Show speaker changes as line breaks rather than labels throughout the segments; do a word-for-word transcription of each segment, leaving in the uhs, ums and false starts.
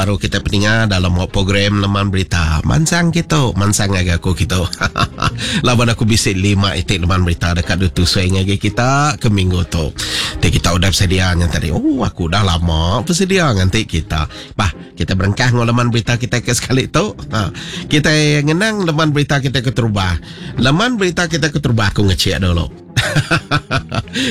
baru kita peninga dalam program Leman Berita. Mansang kita, mansang ngagai aku kita. Laban aku bisi lima itik leman berita dekat ditusui ngagai kita ke minggu tu. Ti kita udah bersedia ngan tadi. Oh, aku dah lama bersedia nganti kita. Bah, kita berengkah ngau leman berita kita ke sekali tu. Ha. Kita ngenang leman berita kita ke terubah. Leman berita kita ke terubah aku ngecek dulu.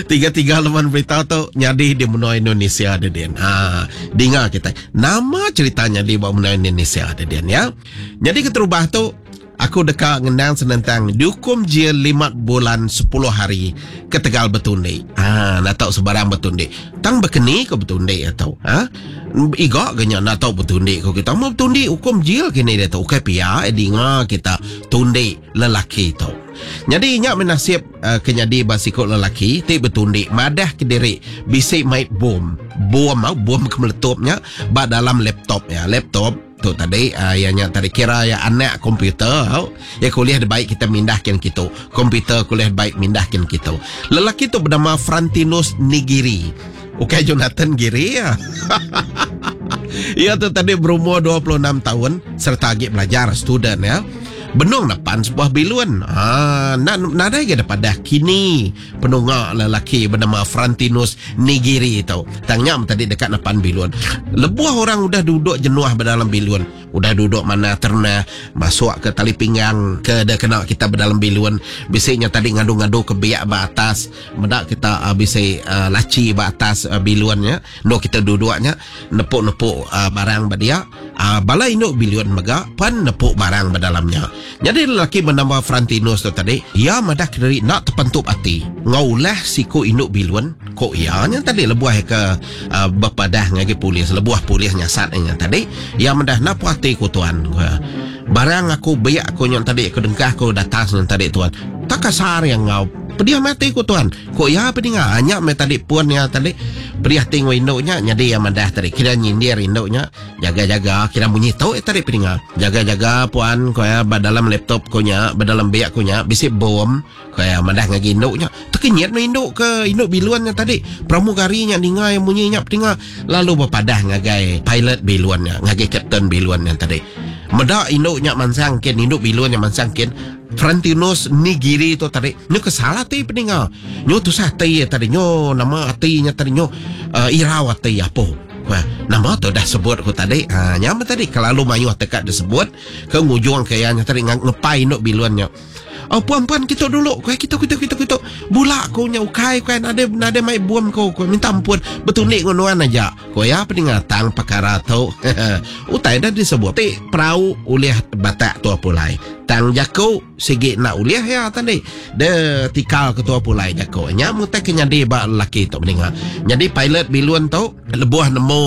Tiga-tiga leman berita tu nyadi di menua Indonesia dedin. Ha, dinga kita. Nama ceritanya di menua Indonesia dedin ya. Jadi keterubah tu aku deka ngenang senentang dihukum jil lima bulan sepuluh hari ketegal betundi. Ha, nak tahu sebarang betundi. Tang bekeni ke betundi atau ha? Iga ke nya nak tahu betundi ko kita. Mau betundi hukum jil kini dia tu. Okey pia eh, dinga kita tundi lelaki tu. Jadi nyak menasib uh, kenyadi basikot lelaki ti betundi madah ke diri bisik mai bom. Bom mau bom ke meletupnya ba dalam laptop ya. Laptop tu tadi uh, yang nya tadi kira ya anak komputer au. Ya kuliah de baik kita mindahkan kita. Komputer kuliah baik mindahkan kita. Lelaki tu bernama Frantinus Nigiri. Okey Jonathan Giri ya. Ia tu tadi berumur dua puluh enam tahun serta lagi belajar student ya. Benung depan sebuah bilun. Ha, nak nadai ke depan kini penungak lelaki bernama Frantinus Nigiri tu. Tangnya tadi dekat depan bilun. Lebuh orang udah duduk jenuh berdalam bilun. Udah duduk mana ternah masuk ke tali pinggang ke dah kena kita berdalam bilun. Bisiknya tadi ngadu-ngadu ke biak ba atas. Mendak kita uh, bisik uh, laci ba atas uh, bilunnya. No kita duduknya nepuk-nepuk uh, barang ba dia. Uh, bala induk bilun mega pan nepuk barang berdalamnya. Jadi lelaki bernama Frantinus tu tadi, ia madah kediri nak terpentup hati. Ngaulah siku induk bilun, kok ianya tadi lebuah ke uh, berpadah ngagi polis, lebuah polis nyasatnya tadi, ia madah nak puas hati ku tuan. Barang aku biak aku yang tadi aku dengkah aku datang yang tadi tuan. Tak kasar yang ngau. Pedih mati ku tuan. Kok ya pedinga anyak me tadi puan ya tadi. Pedih tinggal induknya jadi yang madah tadi kira nyindir induknya jaga-jaga kira bunyi tau eh, tadi pedinga. Jaga-jaga puan kau ya dalam laptop kau nya, dalam biak kau nya bisik bom kau ya madah ngagi induknya. Terkenyit me induk ke induk biluannya tadi. Pramugarinya ninga yang bunyinya pedinga lalu berpadah ngagai pilot biluannya, ngagai kapten biluannya tadi. Medak induknya mansang kin, induk biluannya mansang kin. Frantinus Nigiri tu tadi nyo kesalah ti peninga. Nyo tusah ti tadi nyo nama atinya tadi nyo uh, irau ati apa. Wah, nama tu dah sebut ku tadi. Ha, nyama tadi kelalu mayuh tekad disebut ke ngujung kayanya tadi ngepai induk biluannya. Oh puan-puan kita dulu, kau kita kita kita kita bulak kau nya ukai kau ada ada mai buam kau, kau minta ampun betunik ngonoan aja. Kau ya peninga tang perkara tu. Utai dah disebut ti perahu ulih batak tua pulai. Tang jaku sigi nak ulih ya tadi. De tikal ketua pulai jaku. Nya mutai kenyadi ba lelaki tu peninga. Jadi pilot bilun tu lebuh nemu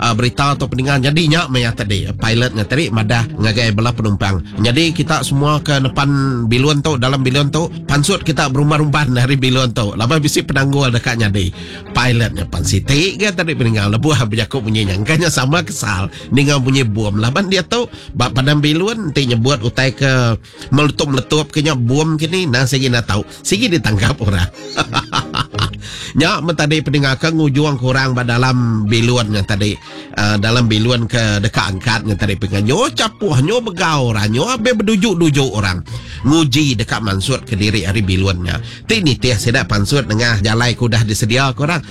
uh, berita tu peninga jadi nya maya tadi. Pilotnya tadi madah ngagai bela penumpang. Jadi kita semua ke depan bilun tu dalam bilun tu pansut kita berumban-rumban dari bilun tu. Lama bisi penanggul dekat nyadi. Pilotnya pan siti ke tadi peninga lebuh berjakuk bunyi nyangkanya sama kesal ninga bunyi bom. Laban dia tu bab padam bilun ti nyebut utai ke meletup-meletup kenya bom kini nah sigi nak tahu sigi ditangkap orang. Nya tadi peninga ke ngujuang kurang ba dalam bilunnya tadi uh, dalam bilun ke dekat angkatnya tadi penga nyo capuh nyo begau orang nyo abe berdujuk-dujuk orang nguji dekat mansut ke diri hari bilunnya. Ti ni teh sedak pansut dengan jalai ku dah disedia korang.